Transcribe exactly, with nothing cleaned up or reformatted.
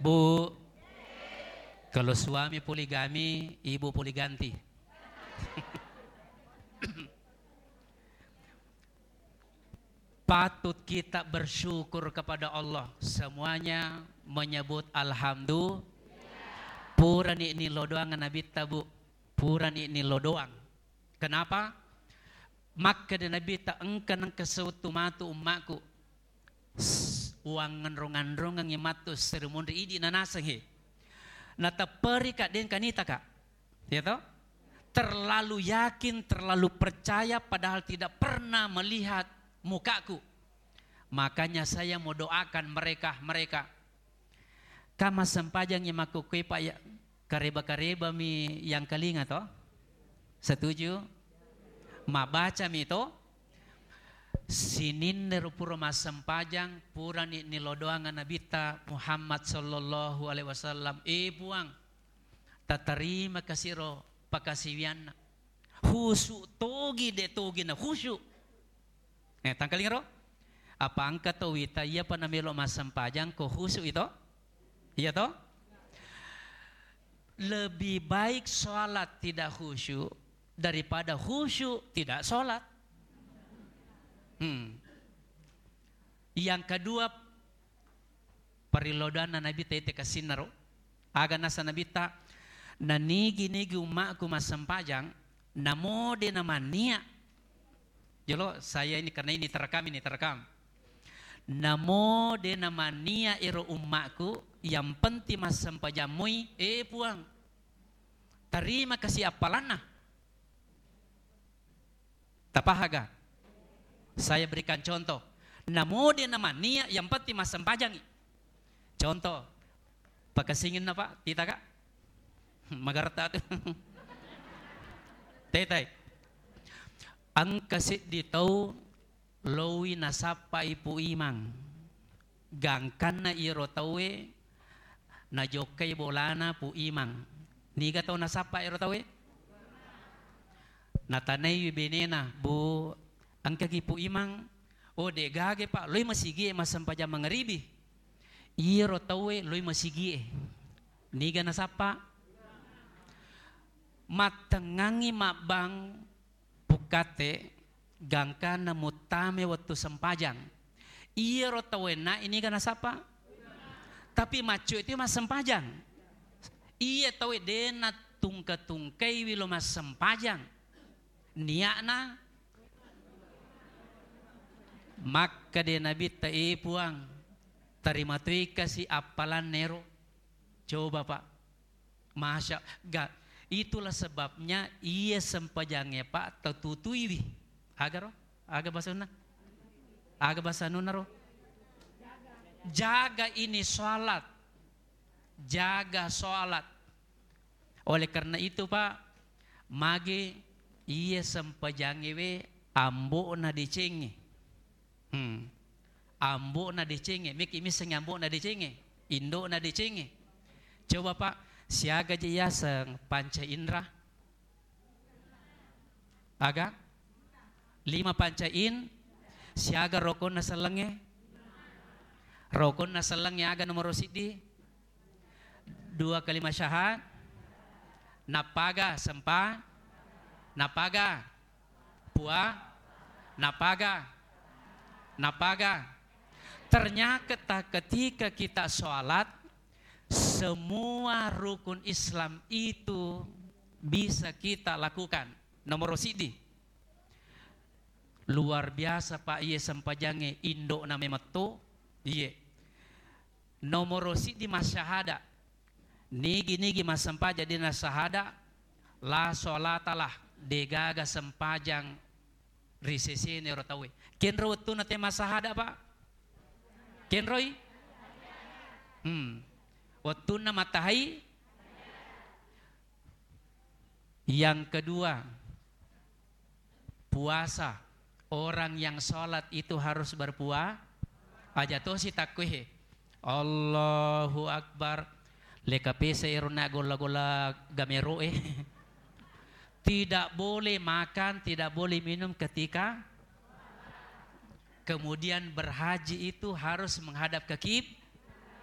Bu, kalau suami poligami, ibu poli ganti. Patut kita bersyukur kepada Allah. Semuanya menyebut alhamdulillah. Purani nilodoang Nabitta, Bu. Purani nilodoang. Kenapa? Makkeda Nabitta, engka nengka sewettu matu ummaku. S-, uwangnganrong-nganrongengngi matu serimunri idi nanaseng he. Natepperika dengka nitaka. Ya toh? Terlalu yakin, terlalu percaya, padahal tidak pernah melihat mukaku. Makanya saya mau doakan mereka, mereka. Ka massempajangngi makkukkué, Pak, ya, kareba-kareba mi yang kalinga to? Setuju? Mabbaca mi to? Sininna ro pura massempajang, purani nilodoang Nabitta Muhammad sallallahu alaihi wasallam, "Eh, Puang, tatarima kasiro pakasiwianna." Khusyuk togi, de togi na khusyuk. Eh, tangkalinga ro? Apa engka to wita, iyapa namelo massempajang ko khusyuk ito? Iya to? Lebih baik sholat tidak khusyuk daripada khusyuk tidak sholat. Hmm. Yang kedua, Parellodanna Nabitta ite kasinnaro. Aga nasa Nabitta, "Nanigi-nigi ummaku massempajang, namo de namannia." Jolo, saya ini, karena ini terekam, ini terekam. "Namo de namannia ero ummaku, yang penting massempajang moi, eh, Puang, tarima kasi appalanna." Tapahaga? Saya berikan contoh. Namo de namannia, yang penting massempajangi. Contoh, pakasinginna, Pak, tita, Kak? Magarta tu. Tetai. Engka seddi tau loi nasappai Pu Imang. Gangkanna iyaro tauwe najokkai bolana Pu Imang. Niga tau nasappa iyaro tauwe? Natanaiwi benena, "Bu, engkagi Pu Imang?" "Oh, de'gaga, Pak, loi masigie massempajang mangaribi." Iyaro tauwe loi masigie. Niga nasappa? Mattengngangngi mabbang pukkatte, gangkanna muttame wettu sempajang. Iyaro tauwe na iniga nasappa? Tapi maccu itu massempajang. Iya tauwe de natungka-tungkaiwi lo massempajang. Nia'na makkeda Nabitta, "Eh, Puang, tarima toi kasi appalanna ero." Coba, Pak. Masya, ga, itulah sebabnya iya sempajangnge, Pak, tatutuiwi. Aga ro? Aga basanna? Aga basanna ro? Jaga ini sholat. Jaga sholat. Oleh karena itu, Pak, magi iya sempajangnge we ambo'na decengnge. Hmm. Ambo'na decengnge, meki missengngi ambo'na decengnge, indo'na decengnge. Coba, Pak, siaga je yaseng panca indra? Aga? Lima panca in, siaga rokonna sellengnge? Rokonna sellengnge aga nomoro siddi? Dua kalima syahadat. Nappaga sempa? Nappaga? Pua, napaga, napaga. Ternyata ketika kita sholat, semua rukun Islam itu bisa kita lakukan. Nomor sidi, luar biasa, Pak, iye sempajangnge indo na memetto, iye. Nomoro siddi massahada. Nigi-nigi massempajang dena sahada, la sholatalah, degaga sempajang ri sesena ero tauwe. Kenro wettunna te massahada, Pak? Kenroi? Hmm. Wettunna matahai. Yang kedua, puasa. Orang yang sholat itu harus berpua-, aja tosi takkuhe. Allahu Akbar. Leka pesa ero na golla-golla gamero e. Tidak boleh makan, tidak boleh minum ketika kemudian berhaji itu harus menghadap ke kib-,